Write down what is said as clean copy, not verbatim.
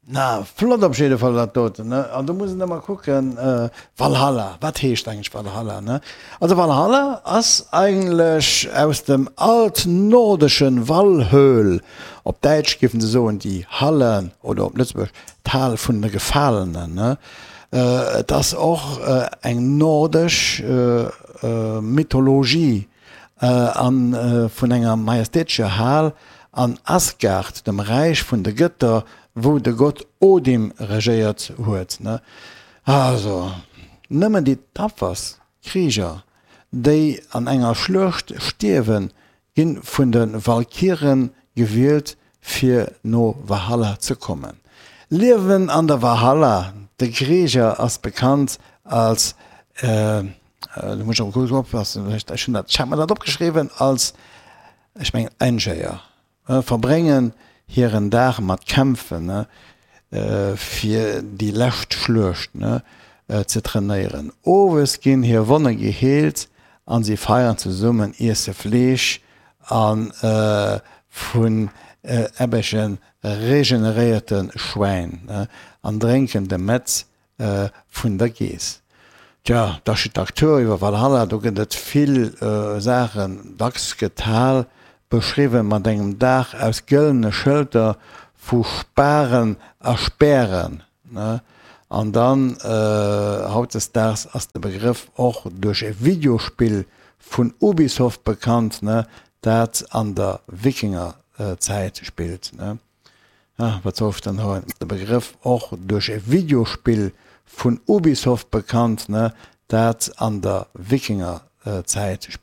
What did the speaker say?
Na, flott op jidde Fall dat doten, ne? An do muss een ëmmer kucken, Valhalla, wat heescht eigentlech Valhalla, ne? Also Valhalla ass eigentlech aus dem altnordeschen Valhöl, op Däitsch géifen se soen die Halle oder op Lëtzebuergesch d'Hal vun de Gefalenen, ne? Et ass och eng nordesch Mythologie a vun enger majestätescher Hal an Asgard, dem Räich vun de Gëtter, wou de Gott Odin regéiert huet. Also, nëmmen déi tapferst Krieger, déi an enger Schluecht stierwen, gi vun de Walkiren gewielt, fir no Valhalla ze kommen. Liewen an der Valhalla, De Krieger ass bekannt als. Do muss ech awer kuerz oppassen, ech hunn dat, ech hat mer dat opgeschriwwen als, ech mengen Einjéier, verbréngen hiren Dag mat Kämpfen, fir déi lescht Schluecht ze trainéieren. Owes ginn hir Wonne geheelt an si feieren zesummen, iesse Fleesch a vun ebbege regeneréierte Schwäin an drénken de Metz vun der Geess. Tja, d'Architektur iwwer Valhalla, do gëtt et vill Saachen. Dacks gëtt d'Hal beschriwwen mat engem Daach aus gëllene Schëlter vu Sparen a Spären. An dann, hautdesdaags ass de Begrëff och duerch e Videospill vun Ubisoft bekannt, dat an der Wikingerzäit spillt. Ah, wat soll ech dann hei? De Begrëff och duerch e Videospill vun Ubisoft bekannt, ne, dat an der Wikingerzäit.